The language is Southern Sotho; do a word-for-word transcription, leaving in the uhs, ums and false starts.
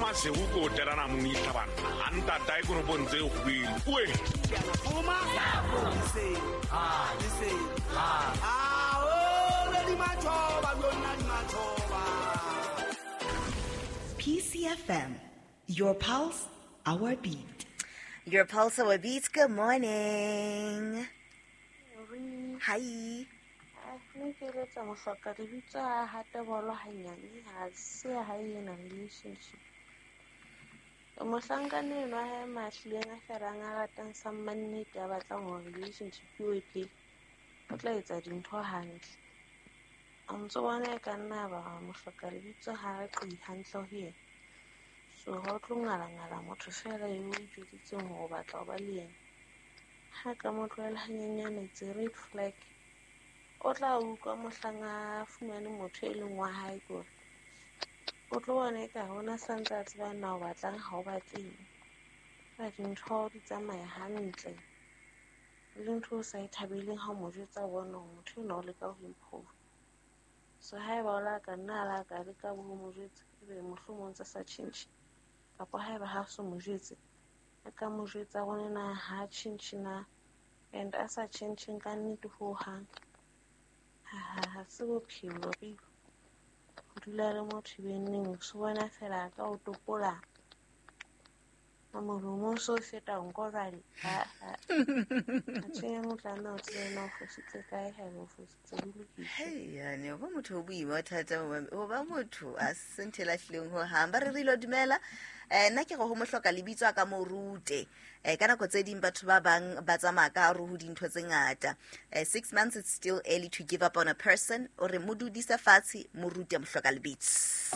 Maseru ko tela namong itlhabana a ntatae konopong tse kgubedu oe. P C F M, your pulse, our beat. Your pulse, our beat. Good morning. Hi. Nna ke eletsa mohloka lebitso a hate bolo hanyane ha se ha e na relationship. Mohlankana enwa ha mahlileng a felang a ratang sa mannete a batlang hore relationship eo e phele, o tla etsa dintho hantle. A ntso bona e ka nna ba mohloka lebitso ha a qi hantle ho yena. So ha o tlo ngala-ngala motho fela eo o ijwetsitseng hore o batla ho ba le yena. Ha ka mo tlohela hanyenyane, it's a red flag. O tla utlwa mohlang a fumane motho e leng wa hae kore o tlo bona eka hona santse a tseba na o batlang ha o batleng. Feela dintho di tsamaya hantle. Le ntho o sa e thabeleng ha o mo jwetsa o bona hore motho enwa o leka ho improve. So haeba o la ka nna a la ka leka ho mo jwetsa ebe mohlomong tse sa tjhentjhe kapa haeba ha so mo jwetse a ka mo jwetsa hore na ha tjhentjhe na and a sa tjhentjheng ka nnete hohang. Ha ha se bophelo re ho dula le motho benneng so bona fela ka o topola a molomo so feta nko jwale ha ha a tshwenya motlana o tsena o fositse kae ha o fositse ho lokile. Hey ya ho motho o boima thata ho ba motho a se ntho e lahlileng ho hang ba re re lo dumela. Eh nna ke go ho mohloka lebitso a ka mo rute. Eh ka nako tse ding batho ba bang ba tsamaya ka hare ho dintho tse ngata. Eh six months it's still early to give up on a person. O re mo dudise fatshe mo rute mohloka lebitso.